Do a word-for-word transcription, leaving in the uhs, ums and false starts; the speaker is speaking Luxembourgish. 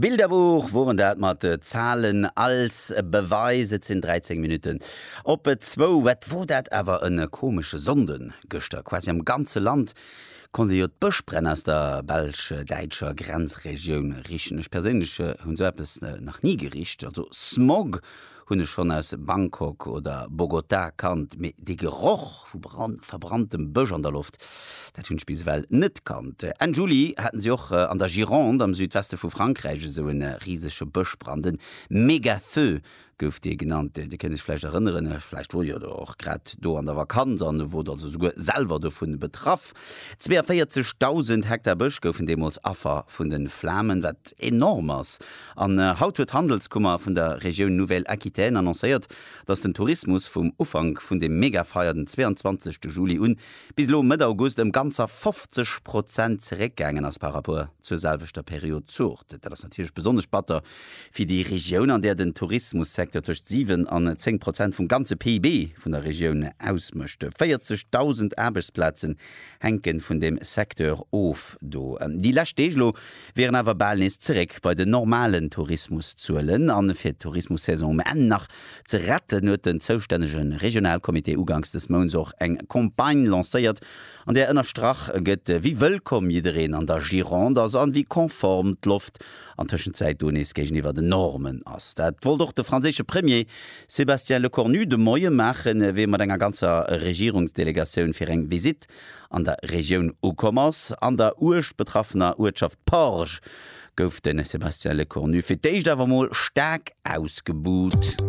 Bilderbuch woren dat mat Zahlen als Beweis. Et sinn dräizéng Minutten op zwou. Wat wor dat awer e komesche Sonnden gëschter. Quasi am ganze Land konnt ee jo d'Bëschbränn aus der belsch-däitscher Grenzregioun richen. Ech perséinlech hunn esou eppes nach ni gericht. Also Smog hunn ech schonn aus Bangkok oder Bogotá kannt, mee dee Geroch vu verbranntem Bësch an der Loft, dat hunn ech bis ewell net kannt. Enn Juli haten si och an der Gironde am Südweste vu Frankräich esou e risege Bëschbrand, en Mega-Feu gouf dee genannt. Dir kënnt iech vläicht erënneren, vläicht wor Dir och grad do an der Vakanz an wor also souguer selwer dovun betraff. zweeënvéierzegdausend Hektar Bësch goufen deemools Affer vun de Flamen, wat enorm ass. An haut huet d'Handelskummer vun der Regioun Nouvelle-Aquitaine annoncéiert, dass den Tourismus vum Ufank vun dem Megafeier den zweeënzwanzegste Juli un bis elo Mëtt August ëm ganzer fofzeg Prozent zeréckgaangen ass par rapport zur selwechter Period d'Zuecht. Dat ass natierlech besonnesch batter fir déi Regioun, an där den Tourismussecteur tëscht siwen an zéng Prozent vum ganze P I B vun der Regioun ausmécht. véierzegdausend Aarbechtsplazen hänke vun deem Secteur of do. Déi lescht Deeg elo wieren awer bal nees zeréck bei den normalen Tourismuszuelen. A fir d'Tourismussaison um Enn nach ze retten, huet den zoustännege Regionalcomité uganks des Mounts och eng Campagne lancéiert, an där ënnerstrach gëtt, wéi wëllkomm jiddereen an der Gironde ass an wéi konform d'Loft an Tëschenzäit do nees géigeniwwer den Normen ass. Dat wollt och de franséische Premier Sébastien Lecornu de Moie maachen, wéi e mat enger ganzer Regierungsdelegatioun fir eng Visitt an der Regioun ukomm ass. An der uerg betraffener Uertschaft Porge gouf de Sébastien Lecornu fir d'éischt awer mol staark ausgebuht.